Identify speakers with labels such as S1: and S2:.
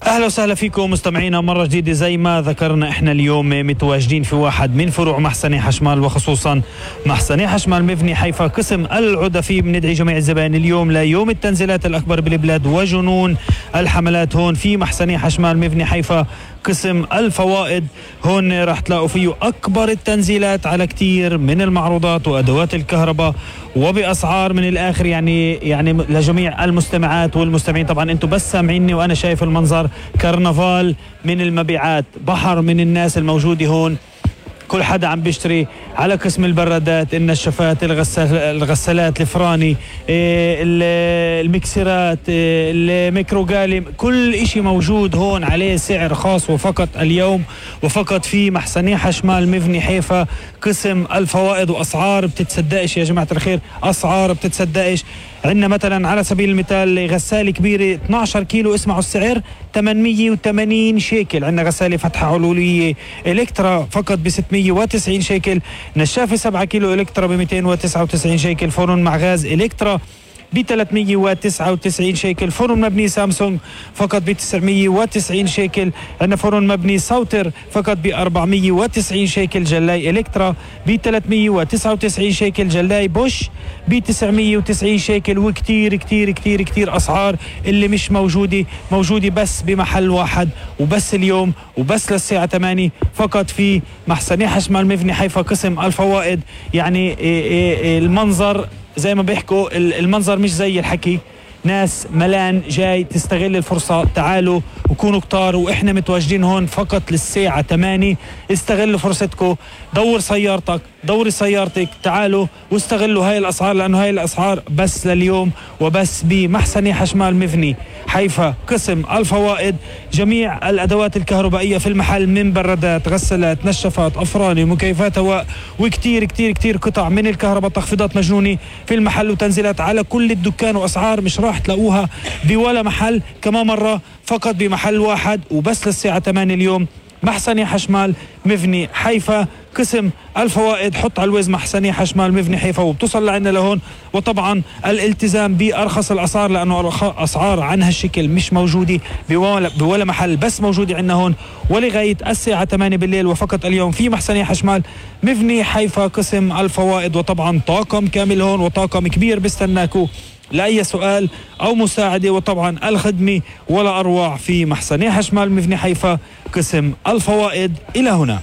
S1: أهلا وسهلا فيكم مستمعينا مرة جديدة. زي ما ذكرنا احنا اليوم متواجدين في واحد من فروع محسني حشمال، وخصوصا محسني حشمال مفني حيفا قسم العدفي. بندعي جميع الزبائن اليوم ليوم التنزيلات الأكبر بالبلاد وجنون الحملات هون في محسني حشمال مفني حيفا قسم الفوائد. هون راح تلاقوا فيه أكبر التنزيلات على كتير من المعروضات وأدوات الكهرباء وبأسعار من الآخر يعني لجميع المستمعات والمستمعين. طبعا انتم بس سامعيني وأنا شايف المنظر، كرنفال من المبيعات، بحر من الناس الموجودة هون، كل حدا عم بيشتري على قسم البرادات، النشافات، الغسالات، الفراني، المكسرات، الميكروغالي، كل اشي موجود هون عليه سعر خاص وفقط اليوم وفقط في محسني حشمال مفني حيفا قسم الفوائد. واسعار بتتصدقش يا جماعة الخير، اسعار بتتصدقش. عندنا مثلا على سبيل المثال غسالة كبيرة 12 كيلو، اسمعوا السعر 880 شيكل. عندنا غسالة فتحة علوية إلكترا فقط ب 690 شيكل. نشافة 7 كيلو إلكترا ب 299 شيكل. فرن مع غاز إلكترا ب 399 شيكل. فرن مبني سامسونج فقط ب 990 شيكل. عندنا فرن مبني سوتر فقط ب 490 شيكل. جلاي إلكترا ب 399 شيكل. جلاي بوش ب 990 شيكل. وكتير كتير كتير كتير أسعار اللي مش موجودة بس بمحل واحد وبس اليوم وبس للساعة 8 فقط في محسني حشمال مفني حيفا قسم الفوائد. يعني المنظر زي ما بيحكوا، المنظر مش زي الحكي. ناس ملان جاي تستغل الفرصة. تعالوا وكونوا كتار، وإحنا متواجدين هون فقط للساعة 8. استغلوا فرصتكم، دور سيارتك، دوري سيارتك، تعالوا واستغلوا هاي الأسعار، لأنه هاي الأسعار بس لليوم وبس بمحسني حشمال مفني حيفا قسم الفوائد. جميع الأدوات الكهربائية في المحل، من برادات، غسالات، نشافات، أفران، مكيفات هواء، وكتير كتير كتير قطع من الكهرباء. تخفيضات مجنونة في المحل وتنزيلات على كل الدكان، وأسعار مش راح تلاقوها بولا محل. كمان مرة فقط بمحل واحد وبس للساعة 8 اليوم. محسني حشمال مفني حيفا قسم الفوائد. حط على الوز محسني حشمال مفني حيفا وبتصل لعنا لهون. وطبعا الالتزام بأرخص الأسعار، لأنه أسعار عن هالشكل مش موجودة بولا محل، بس موجودة عنا هون ولغاية الساعة 8 بالليل وفقط اليوم في محسني حشمال مفني حيفا قسم الفوائد. وطبعا طاقم كامل هون وطاقم كبير بستناكو لأي سؤال أو مساعدة. وطبعا الخدمة ولا أروع في محسني حشمال مفني حيفا قسم الفوائد. إلى هنا.